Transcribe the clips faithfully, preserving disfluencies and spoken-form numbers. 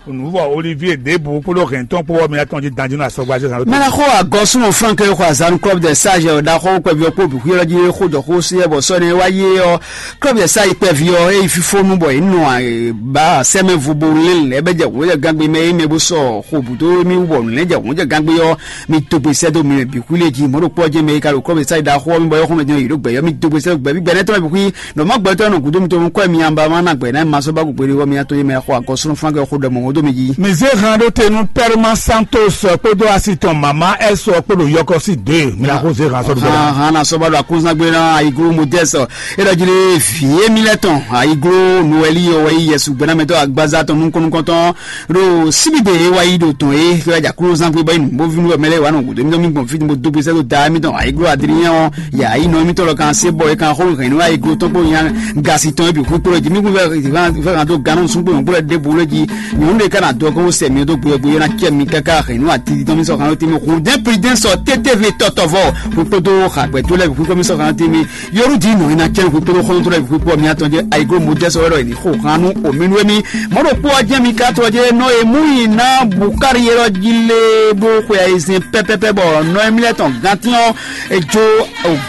Nǔvɔ Olivier Debu kpódó hɛn tɔn kpó wɔ mi atɔn jí danjínú asɔgbazé zan. Mɛ la xɔ agɔsúnɔ Frank e xɔ azanu club de sage ɔ ɖaxɔ kpɛvi ɔ kpó bixwí ɔ jí xó dɔ xó sí ɛ bɔ sɔ́ ne wá yé ɔ club de sage kpɛvi ɔ e yi fífó nú bɔ yě nɔ ba sɛmɛ vo bo lé lɛ bɛ jɛ wǒ jɛ gangbe mɛ é mɛ bó sɔ xo bǔdó mi wú bɔ nǔ lɛ jɛ wǒ jɛ gangbe ɔ mi dó gbe sɛ dó mi mɛ bixwí lé jí mɔ̌ ɖo kpɔ́ jɛ mɛ yi ka ɖo club de sage ɖaxɔ mi bɔ yɔ xɔmɛ jɛ yǒ ɖo gbɛ yɔ mi dó gbe sɛ gbɛ mi gbɛ nɛ́ tɔn bixwí. Nɔ ma gbɛtɔ́ nɔ gǔdo mitɔn nukɔn mi amba ma na gbɛ nɛ ma sɔ́ ba gǔgbé ɖé wɔ mi atɔn yé mɛ xɔ agɔsúnɔ Frank xó ɖɔ mɔ ŋó dó mi jí. Mi zé han ɖó te nú Pɛrma Santos kpódó asi tɔn mama ɛsɔ kpódó yɔkɔsi de mi na xó zé han sɔ́ ɖo gbɛdá. Han na sɔ́ ba ɖo akúnzán gbé ná ayiglo modeste é ɖɔ jí lé vǐ émi lɛ́ tɔn ayiglo Noɛli ɔwɛ yi yɛsu gbɛnámɛtɔ́ agbaza tɔn nukɔn nukɔntɔn ɖo síbíde e wá yi ɖo tɔn e xlɛ́ dza kúrú zán gbé bɔ yi nǔgbó vínú wɛ mɛ lɛ́ɛ wá nɔ gǔdo mi dɔ mi gbɔn fí mo dó gbèsè ɖo da mi tɔn ayiglo adriyɛn ɔ yà yi nɔ mi tɔn lɔ kan se bɔ e kan xó hɛn nú ayiglo tɔn kpó nya gasi tɔn e bǐ xwé kpó lɔ jí mi kún fɛ fɛ kan tó gánú sún kpó yɔn kpó lɔ ɖěbǔ lɔ jí nyɔ̌nu ɖé ká na dɔ kó sɛ mi dó gbé gbé na cɛ mi káká hɛn nú atiti tɔn mi sɔ kan lɔ tɛmɛ hùn dɛn pli dɛn sɔ tétévé tɔtɔ vɔ kpódó xagbɛ tó lɛ bǐ xwé kó mi sɔ kan lɔ tɛmɛ Yorudi nɔ ina cɛn hu kpódó xɔnɔntɔ́ lɛ́ɛ hu kpó miatɔn jɛ ayiglo modɛsɔ wɛ ɖɔ yi ní xo han nú ominu emi mɔɖo kpó ɔ́ jẹ́ mi ka tɔ jɛ nɔ e mú yi ná Bukari yɛ lɔ jí lé bó xwe ayizɛn pɛpɛpɛ bɔ nɔ emi lɛ tɔn gantí ɔ́ e jó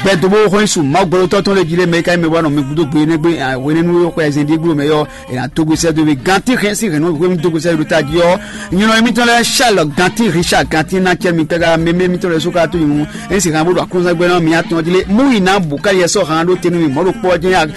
gbɛdo bó xɔn su Mawu gbɛɖotɔ́ tɔn lɛ jí lé mɛ ka mɛ bɔ nɔ mi gúdo gbe nɛgbé hwenɛnu xwe ayizɛn ɖíe gblo mɛ yɔ e na dógbe sɛ dó mi gantí hɛn sí hɛn nɔ hwenu dógbe sɛ ɖo tají ɔ́ nyɔnɔ emitɔn lɛ Charles gantí Richard gantí ná cɛ mi káká mɛmɛ emitɔn lɛ sókató nyɔnu Esi hàn bó ɖo akɔnzán gbɛ́ ná mì atɔn jí lé mú yi ná bǔ ká yɛ sɔ́ hàn ɖó te nú mì mɔ̌ ɖo kpɔ́ ɔ́ jɛ́n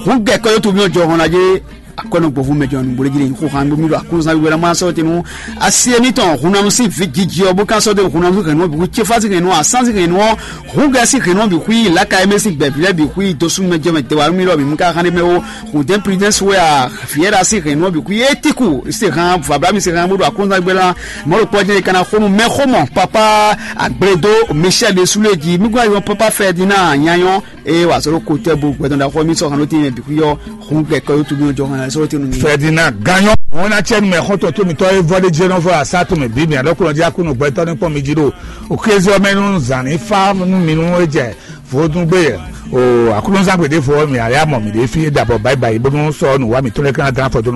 hǔn gɛ̌ kɔ́ yótú mì jɔ hɔn ná jɛ akɔnɔ gbɔ̀vú mɛ jɔ nǔgbó jí lé xo hàn bó mì ɖo akɔnzán gbɛ́ ná má sɔ́ te nú asi émítɔn hùnánú sín vǐ jiji ɔ́ bó ká sɔ́ te hùnánú hɛn nú bǐ céfá sín hɛn nú asán sín hɛn nú ɔ́ hǔn gɛ́ sín hɛn nú bǐ xwí lǎka émɛ sín gbɛ̌ví lɛ́ɛ bǐ xwí dosú mɛ jɛ mɛ dɛwà nú mì ɖɔ mǐ mú ká hán ɖé mɛ ó hùn dɛ́n pridɛ́nsi wɛ a vǐ ɛ́ ɖo así hɛn nú bǐ xwí étíkù sí hàn vǎblá mi sí hàn bó ɖo akɔnzán gbɛ́ ná Mɔ̌ ɖo kpɔ́ jɛ́n è ka ná xo nú mɛxómɔ pápá Agbledo Michel ɖésú lé jí. Mí gbɔn ayɔ pápá Ferdinand nyanyɔ eye wǎ sɔ́ ɖó kotɛ́ bo gbɛdɔn ɖaxó mì sɔ́ hàn ló tɛ́nmɛ bǐ xwí ɔ́ hun gbɛ kɔ yótú mì jɔ hàn sɔ́ ló tɛ́nú mi. Ferdinand Gagnon. Wọn ná cɛ numɛ xɔtɔ tó mitɔ e vɔ ɖe jɛ nɔ vɔ asa tó mɛ bí mi alɔ kúnɔ jẹ akúnɔ gbɛtɔ ní kpɔn mi jí ɖo òkézé ɔmɛ nú zan ní fá nú mi nú é jɛ vodúngbé yɛ o akúnɔzán gbèdé fo mi àlẹ́ àmọ́ mi ɖe fi é dàbọ̀ báyìí báyìí bónú sọ nù wá mi tó lẹ́kàn dán fọdún